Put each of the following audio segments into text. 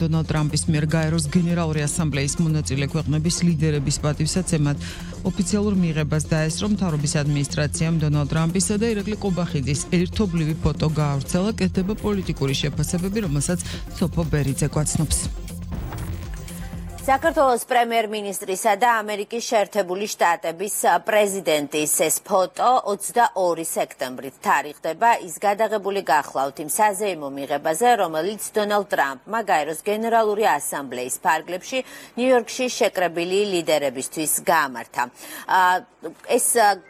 დონალდ ტრამპის მიერ გაეროს გენერალური ასამბლეის მონაწილე ქვეყნების ლიდერების პატივსაცემად ოფიციალურ მიღებას დაესწრო მთავრობის ადმინისტრაციამ დონალდ ტრამპისა და ირაკლი ყობახიძის ერთობლივი ფოტო გაავრცელა, კეთდება პოლიტიკური შეფასებები, რომელსაც სოფო ბერიძე გვაცნობს. საქართველოს პრემიერ-მინისტრისა და ამერიკის შეერთებული შტატების პრეზიდენტის ეს ფოტო 22 სექტემბრით თარიღდება. ის გადაღებული გახლავთ იმ საზეიმო მიღებაზე, რომელიც დონალდ ტრამპმა გაეროს გენერალური ასამბლეის ფარგლებში ნიუ-იორკში შეკრებილი ლიდერებისთვის გაამართა. ეს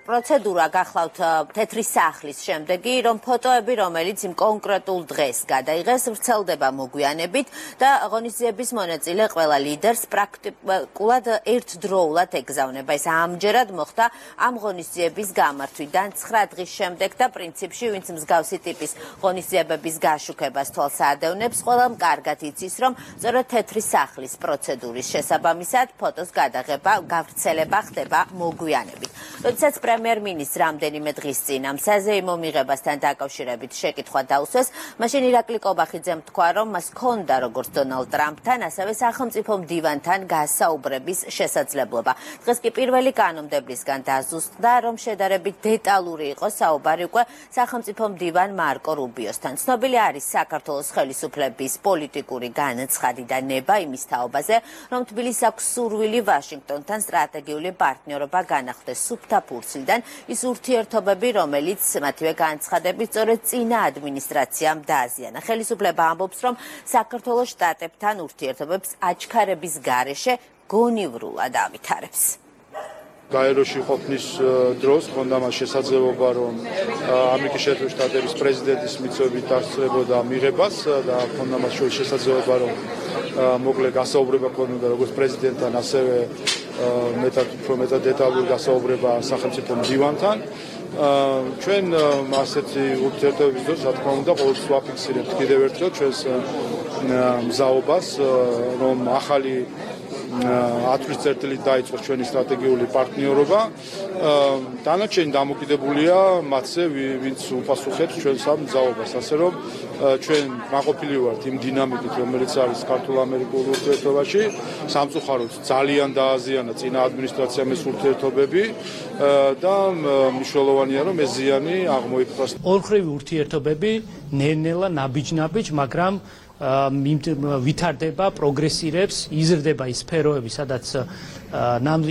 პროცედურა გახლავთ თეთრი სახლის შემდეგი, რომ ფოტოები, რომელიც იმ კონკრეტულ დღეს გადაიღეს, ვრცელდება მოგვიანებით და ღონისძიების მონაწილე ყველა ლიდერს პრაქტიკულად ერთდროულად ეგზავნება. ეს ამჯერად მოხდა ამ ღონისძიების გამართვიდან 9 დღის შემდეგ და პრინციპში ვინც მსგავსი ტიპის ღონისძიებების გაშუქებას თვალს აადევნებს, ყველამ კარგად იცის, რომ სწორედ თეთრი სახლის პროცედურის შესაბამისად ფოტოს გადაღება, გავრცელება ხდება მოგვიანებით. როდესაც პრემიერ-მინისტრს რამდენიმე დღის წინ ამ საზეიმო მიღებასთან დაკავშირებით შეკითხვა დაუსვეს, მაშინ ირაკლი ყობახიძემ თქვა, რომ მას ჰქონდა როგორც დონალდ ტრამპთან, ასევე სახელმწიფო მდივანთან გასაუბრების შესაძლებლობა. დღეს კი პირველი კანონმდებლისგან დაზუსტდა, რომ შედარებით დეტალური იყო საუბარი უკვე სახელმწიფო მდივან მარკო რუბიოსთან. ცნობილი არის საქართველოს ხელისუფლების პოლიტიკური განაცხადი და ნება იმის თაობაზე, რომ თბილისს აქვს სურვილი ვაშინგტონთან სტრატეგიული პარტნიორობა განახლდეს სუფთა ფურცლიდან, ის ურთიერთობები, რომელიც მათივე განცხადებით სწორედ წინა ადმინისტრაციამ დააზიანა. ხელისუფლება ამბობს, რომ საქართველოს შტატებთან ურთიერთობებს აჩქარების გარეშე გონივრულად ავითარებს. გაეროში ყოფნის დროს ჰქონდა მას შესაძლებლობა, რომ ამერიკის შეერთებული შტატების პრეზიდენტის მიწვევით დასწრებოდა მიღებას და ჰქონდა მას შესაძლებლობა, რომ მოკლე გასაუბრება ქონოდა როგორც პრეზიდენტთან, ასევე მეტად დეტალური გასაუბრება სახელმწიფო მდივანთან. ჩვენ ასეთი ურთიერთობების დროს, რა თქმა უნდა, ყოველთვის ვაფიქსირებთ კიდევ ერთხელ ჩვენს მზაობას, რომ ახალი 10 წერტილით დაიწყოს ჩვენი სტრატეგიული პარტნიორობა. დანარჩენი დამოკიდებულია მათზე, ვინც უპასუხებს ჩვენს ამ მზაობას. ასე რომ ჩვენ მაყოფილი ვართ იმ დინამიკით, რომელიც არის ქართულ-ამერიკულ ურთიერთობაში. სამწუხაროდ ძალიან დააზიანა წინა ადმინისტრაციამ ეს ურთიერთობები და მნიშვნელოვანია, რომ ეს ზიანი აღმოიფხვრას. ორხრივი ურთიერთობები ნელ-ნელა ნაბიჯ-ნაბიჯ, მაგრამ ვითარდება, პროგრესირებს, იზრდება ის სფეროები, სადაც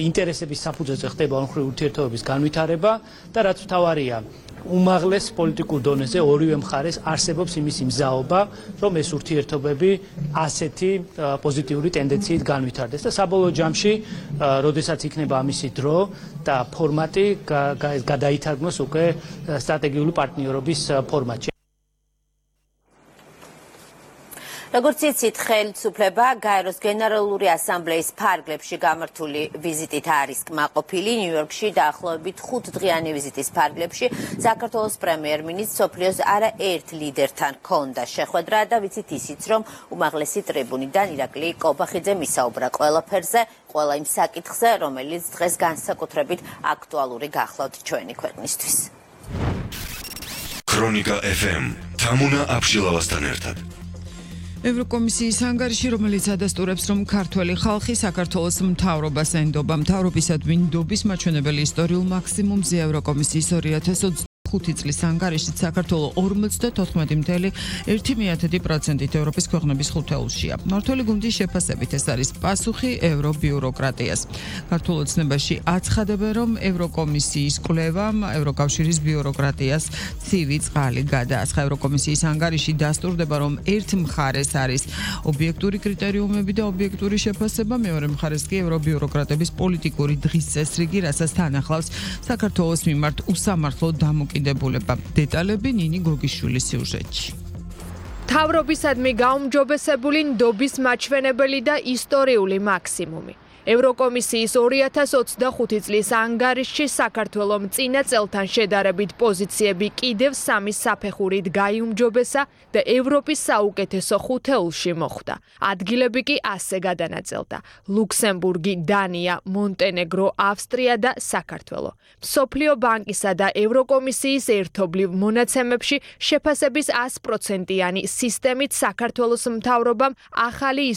ინტერესების საფუძველზე ხდება ორხრივი ურთიერთობების განვითარება და რაც მთავარია, უმაღლეს პოლიტიკურ დონეზე ორივე მხარეს არსებობს იმის მზაობა, რომ ეს ურთიერთობები ასეთი პოზიტიური ტენდენციით განვითარდეს და საბოლოო ჯამში, როდესაც იქნება ამისი დრო და ფორმატი გადაითარგმნოს უკვე სტრატეგიული პარტნიორობის ფორმატში. როგორც იცით, ხელისუფლება გაეროს გენერალური ასამბლეის ფარგლებში გამართული ვიზიტით არის კმაყოფილი. ნიუ-იორკში დაახლოებით 5 დღიანი ვიზიტის ფარგლებში საქართველოს პრემიერ-მინისტრს მსოფლიოს არაერთ ლიდერთან ჰქონდა შეხვედრა და ვიცით ისიც, რომ უმაღლესი ტრიბუნიდან ირაკლი ყობახიძემ ისაუბრა ყველაფერზე, ყველა იმ საკითხზე, რომელიც დღეს განსაკუთრებით აქტუალური გახლავთ ჩვენი ქვეყნისთვის. ქრონიკა FM თამუნა აბშილავასთან ერთად. ევროკომისიის ანგარიში, რომელიც ადასტურებს, რომ ქართველი ხალხი საქართველოს მთავრობას ენდობა. მთავრობისადმი ნდობის მაჩვენებელი ისტორიულ მაქსიმუმზე ევროკომისიის 2025 წლის ანგარიშით საქართველოს 54.1%-ით ევროპის ქვეყნების ხუთეულშია. მმართველი გუნდის შეფასებით ეს არის პასუხი ევრობიუროკრატიას. ქართულ ოცნებაში აცხადებენ, რომ ევროკომისიის კვლევამ ევროკავშირის ბიუროკრატიას ცივი წყალი გადაასხა. ევროკომისიის ანგარიში დასტურდება, რომ ერთ მხარეს არის ობიექტური კრიტერიუმები და ობიექტური შეფასება, მეორე მხარეს კი ევრობიუროკრატების პოლიტიკური დღის წესრიგი, რასაც თან ახლავს საქართველოს მიმართ უსამართლო დამოკიდებულება. დეტალები ნინი გოგიშვილის სიუჟეტში. მთავრობისადმი გაუმჯობესებული ნდობის მაჩვენებელი და ისტორიული მაქსიმუმი. ევროკომისიის 2025 წლის ანგარიშში საქართველოს წინა წელთან შედარებით პოზიციები კიდევ 3 საფეხურით გაიუმჯობესა და ევროპის საუკეთესო ხუთეულში მოხვდა. ადგილები კი ასე გადანაწილდა: ლუქსემბურგი, დანია, მონტენეგრო, ავსტრია და საქართველო. მსოფლიო ბანკისა და ევროკომისიის ერთობლივ მონაცემებში შეფასების 100%-იანი სისტემით საქართველოს მთავრობამ ახალი